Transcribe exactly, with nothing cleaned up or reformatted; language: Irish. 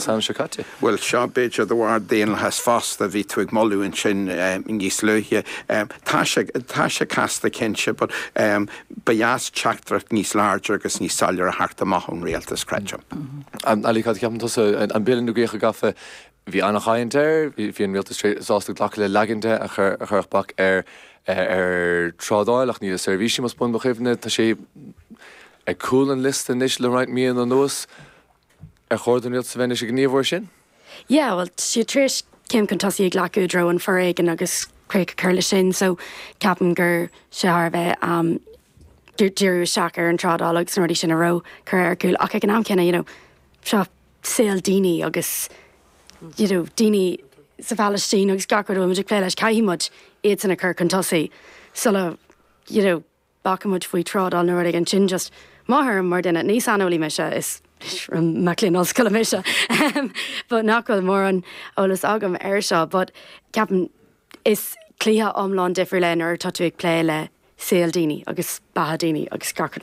Sam seo caite. Well seo b'fhéidir de bharr daonlathas fosta bhí tú ag moladh ansin níos luaithe. Tá sé tá sé casta cinnte, but um, ba dheas teachtaireacht níos láidre agus níos soiléire a theacht amach ón rialtas creidim. Ali cad ceapann tusa an bille núíoch a gafa bhí an-chaint air, bhí an rialtas sásta glacadh le leagan de a chuirfeadh bac ar ar trádáil ach ní le seirbhísí más buan mo chuimhne tá sé ag cúl an liosta anois le roinnt mí anuas ar chóir don rialtas a bheith ag gníomhú sin? Yeah, well siad tar éis céim chun tosaigh a ghlacadh i dtreo an foréigean agus críoch a chur leis sin, so ceapaim gur sé thar bheith um, díriú isteach ar an trádáil agus na rudaí sin a raibh cur ar cúl ach ag an am céanna you know, seo saol daoine agus you know, daoine sa Phalaistín agus gach rud muid ag plé leis caithfidh muid iad sin a chur chun tosaigh sula you know, bacaimid faoi trádáil nó rud sin just máthair mar duine ní saineolaí mise is mac léinn ollscoile mise but nach bhfuil mórán eolas agam air seo, but ceapaim is cluiche iomlán difriúil é nuair atá tú ag plé le saol daoine agus beatha daoine agus gach